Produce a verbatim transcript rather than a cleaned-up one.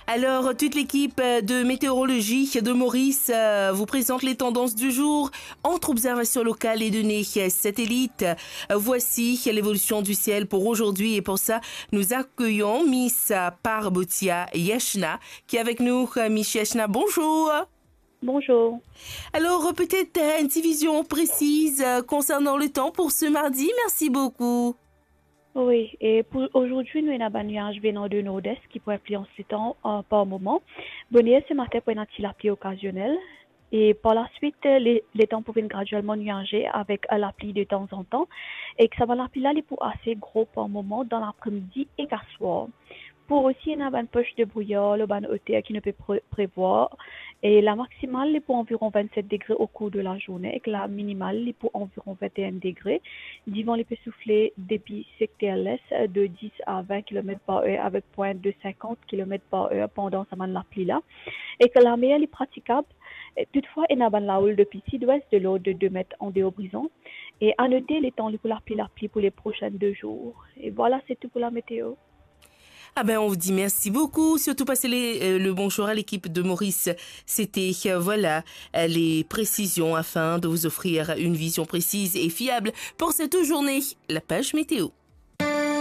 Alors, toute l'équipe de météorologie de Maurice euh, vous présente les tendances du jour entre observations locales et données satellites. Voici l'évolution du ciel pour aujourd'hui et pour ça, nous accueillons Miss Parbotia Yashna qui est avec nous. Miss Yashna, bonjour. Bonjour. Alors, peut-être euh, une division précise euh, concernant le temps pour ce mardi. Merci beaucoup. Oui, et pour aujourd'hui, nous avons un nuage venant de nord-est qui pourrait influencer le temps euh, par moment. Bonne heure ce matin pour un petit lapli occasionnel. Et par la suite, le, le temps pour venir graduellement nuagé avec euh, la pluie de temps en temps. Et que ça va la pluie là, il est pour assez gros par moment dans l'après-midi et qu'à soir. Pour aussi, il y a une poche de brouillard, le ban hauteur qui ne peut pré- prévoir. Et la maximale, il est pour environ vingt-sept degrés au cours de la journée et que la minimale, il est pour environ vingt et un degrés. Divan, il peut souffler depuis secteur l'est de dix à vingt kilomètres par heure avec pointe de cinquante kilomètres par heure pendant sa mann lapli la. Et que la mer, il est praticable. Et toutefois, il y a une lahoule depuis sud-ouest de l'ordre de deux mètres en dehors brisant. Et à noter, les temps pour la pluie, la pluie pour les prochains deux jours. Et voilà, c'est tout pour la météo. Ah ben, on vous dit merci beaucoup. Surtout passer les, euh, le bonjour à l'équipe de Maurice. C'était, euh, voilà, euh, les précisions afin de vous offrir une vision précise et fiable pour cette journée. La page météo.